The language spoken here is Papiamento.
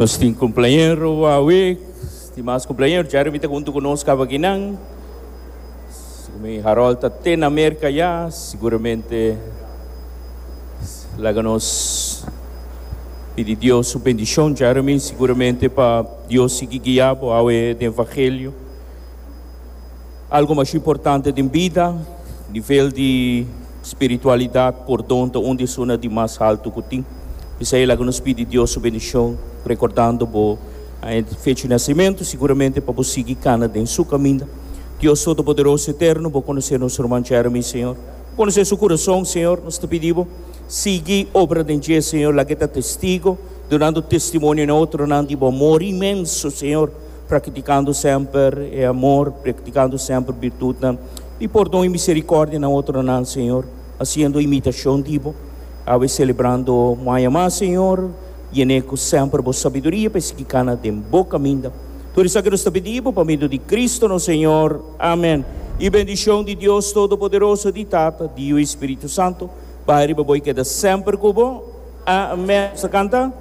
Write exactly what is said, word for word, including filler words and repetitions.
Nos tin cumpleañero awe, stima cumpleañero, Jeremy ta hunto cu nos akinan. Mi Harold ta na Merca ya, siguramente laga nos pidi Dios su bendicion, Jeremy, siguramente pa Dios sigui guia bo awe den Evangelio. Algo mas importante den bida, nivel di spiritualidad, pordon, unda ta di mas halto cu tin. Esey laga nos pidi Dios su bendicion, recordando bo fecha di nacemento, siguramente pa bo sigui cana den su caminda. Dios Todopoderoso Eterno, bo conoce nos ruman Jeremy, Señor. Conoce su curason, Señor, nos ta pidi, sigui obra den dje, Señor, lag'e ta testigo, dunando testimonio na otronan di amor inmenso, Señor, practicando semper e amor, practicando semper virtud y pordon y misericordia na otronan, Señor, haciendo imitacion di bo, awe celebrando mas, Señor, yen'e cu semper bo sabiduria pa sigui cana den bo caminda. Tur esaki nos ta pidi pa medio di Cristo, nos Señor. Amen. Y bendicion di Dios Todopoderoso, di Tata, di Spirito Santo, bay riba bo y keda semper cu bo. Amen. Bo canta?